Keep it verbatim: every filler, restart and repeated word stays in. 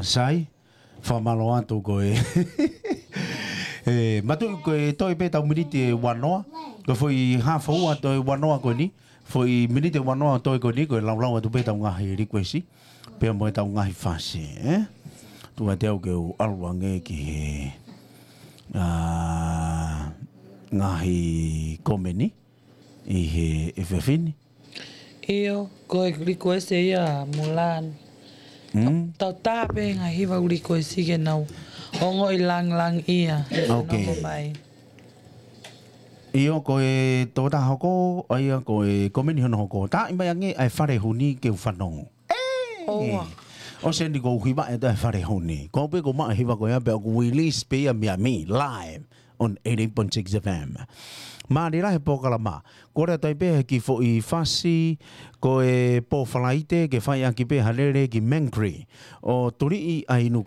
Sai, fakamālō atu ko e. E, matuʻi ko e toe pē tau miniti ʻe uanoa. Ko e foʻi hā foʻi ua toe uanoa ko eni. Foʻi miniti ʻe uanoa toe ko eni, ko e laulau atu pē tau ngaahi likuesi. Pea mo e tau ngaahi fasi, ē? Tuku atu au ke u ʻalu ange ki he, ʻa, ngaahi komeni ʻi he efiafi ni. ʻIo, ko e likuesi ia Mulan. Mm. Tau tā pē ngaahi hiva likuesi ke nau ongoʻi langilangiʻia. Ok. Nongo mai. ʻIo, ko e tokotaha hoko, ʻa ia ko e komeni hono hoko. Tāʻi mai ange ʻa e Fale Huni ke u fanongo. ʻOua. ʻOsi eni ko u hiva ʻe taha e Fale Huni. Ko pē ko maʻa hiva ko ia pea ʻoku release pē ia mei Miami, live on eighty-eight point six F M. Mālie lahi e polokalama. Kole atu ai pē he kiʻi foʻi fasi, ko e pō Falaite, ke fai ʻaki pē ha lele ki Mangere. ʻO Tuliʻi ʻa Inu